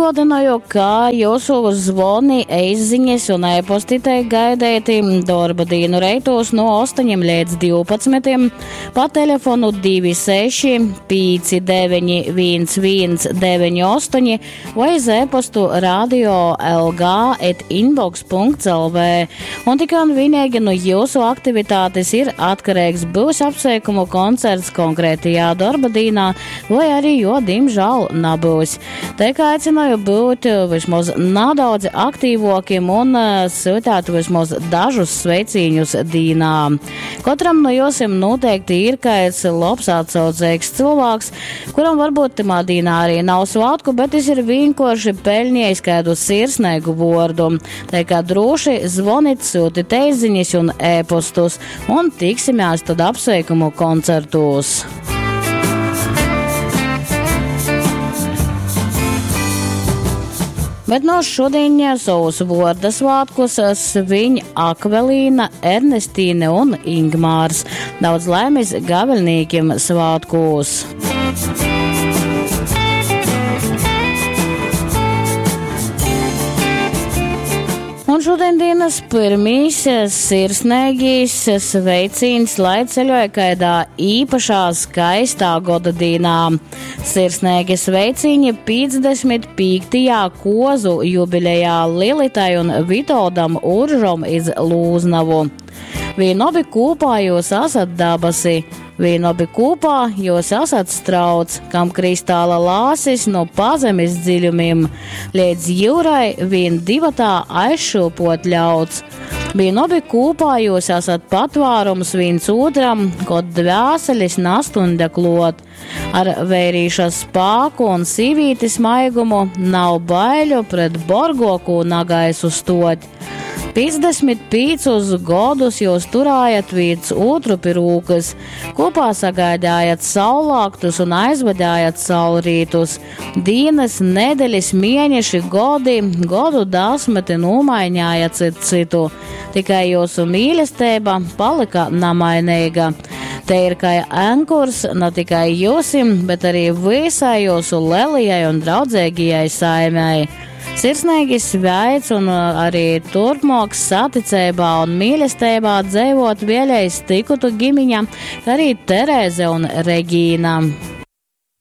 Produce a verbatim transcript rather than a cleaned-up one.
Atgādināju, ka jūsu zvoni, e-ziņas un e-posti tiek gaidēti darba dienu reitos no astoņiem līdz divpadsmitiem pa telefonu divi seši pieci deviņi viens viens deviņi astoņi vai uz e-postu radio lg et inbox punkts lv. Un tikai un vienīgi no jūsu aktivitātes ir atkarīgs būs apsveikumu koncerts konkrētajā darba dienā vai arī, jo, diemžēl, nebūs. Te kā aicināju būt vismaz nedaudz aktīvokiem un sūtāt vismaz dažus sveicīņus dīnā. Katram no jūsim noteikti ir kāds labs atsaucīgs cilvēks, kuram varbūt timā dīnā arī nav svētku, bet es ir vienkārši peļņējis kādu sirsnīgu vordu. Tā kā droši zvonit, sūtit e-ziņas un e-postus un tiksimies tad apsveikumu koncertos. Bet no šodien savus vorda svētkus sviņ Akvelīna, Ernestīne un Ingmārs. Daudz laimes gaveļnīkiem svētkos! Un šodien dienas pirmīs sirsnīgīs sveicīns, lai ceļoja kaidā īpašā skaistā goda dīnā. Sirsnīgi sveicīņi piecdesmit piektajā kozu jubilejā Lilitai un Vitoldam Uržom iz Lūznavu. Vīn obi kopā jūs esat dabasi, vīn obi kopā jūs esat strauts, kam kristāla lāsis no pazemes dziļumiem, līdz jūrai vīn divatā aizšūpot ļauts. Vīn obi kopā jūs esat patvārums viens otram, kod dvēselis nastunda klot. Ar vērīša spāku un sīvītes maigumu nav baiļu pret borgoku nagaisu stot. piecdesmit piecus godus jūs turājat viens otru pie rūkas, kopā sagaidājat saulāktus un aizvadājat saulrītus. Dienas, nedēļas, mēneši, godi, godu desmiti nomaiņāja cit citu. Tikai jūsu mīlestība palika namainīga. Te ir kā ankurs ne tikai jūsim, bet arī visai jūsu lelijai un draudzīgajai saimei. Sirsnīgi sveic un arī turpmāk saticībā un mīlestībā dzīvot vēlreiz tikutu ģimiņa, kā arī Terēze un Regīna.